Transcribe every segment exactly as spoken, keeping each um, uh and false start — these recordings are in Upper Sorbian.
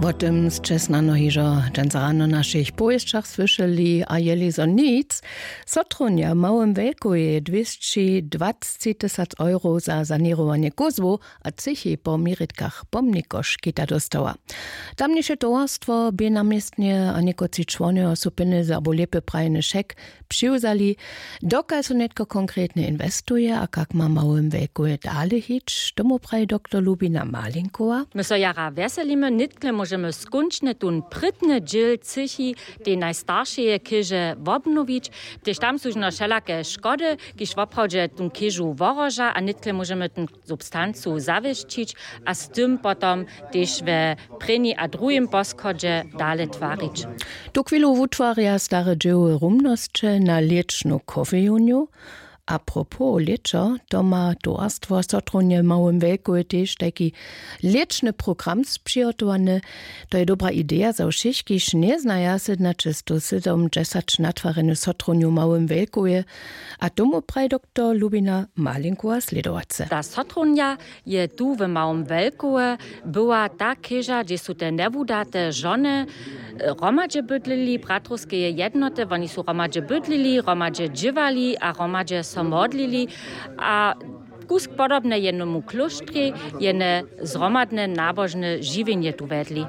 Wo tym sće snano hižo dźensa rano w našich powěsćach słyšeli a jeli zo nic. Sotronja w małym wejkowje dwěsći dwacci tysac euro za saněrowanje kózłow a třěchi po měritkach pomnikoškita dóstała. Tamniše towarstwo bě na městnje a někotři čłonojo su pjenjezy abo lěpje prajeny šek přiwzali. Dokelž su nětko konkretnje inwestuje a kak ma małym wejkowje dale hić, tomu praji doktor Lubina Malinkowa. My so jara wjeselimy, nětkle móžemy skónčnje tón prědny dźěl třěchi, tej najstaršeje chěže wobnowić. Tež tam su žno wšelake škody, kiž woprawdźe tón chěžu wohroža, a nětkle móžemy tón substancu zawěsćić a z tym potom tež we prěni a druhim poschodźe dale twarić. Tu chwilu wutwarja stare dźěły rumnosće na lěčnu kofejonju. A propos lěćo, to ma towarstwo sotrunje w małym wejkowje tež tajki lěčny program spřihotowany. To je dobra ideja za wšěch, kiž njeznaja sydnaćestowsydomdźesać natwarjenu sotrunju w małym wejkowje. A tomu praji doktor Lubina Malinkowa slědowace. Ta sotrunja je tu w małym wejkowje była ta chěža, hdźež su te njewudate žony hromadźe bydlili, bratrowskeje jednoty, woni su hromadźe bydlili, hromadźe dźěłali a hromadźe so modlili. A kusk podobne jenomu klóštrjej jene zhromadne nabožne žiwjenje tu wjedli.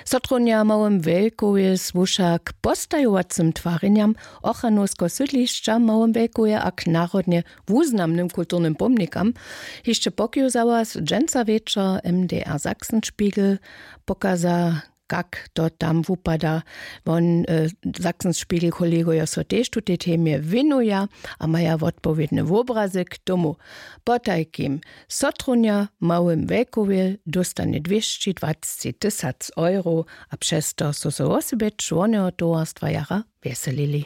Sotrunja w małym wejkowje słuša k postajowacym twarjenjam, ochranowskeho sydlišća w małym wejkowje a k narodnje wuznamnym kulturnym pomnikam. Hišće pokiwzała dźensa wječor mdr sachsenspiegel, pokaza, kak to tam wupada. Won sachsenspiegel kolegojo so tež tutej temje wěnuja a maja wotpowědny wobrazy k tomu. Potajkim, sotrunja w małym wejkowje dóstanje dwěsći dwacci tysac euro, a přez to su so wosebje čłonojo towarstwa jara wjeselili.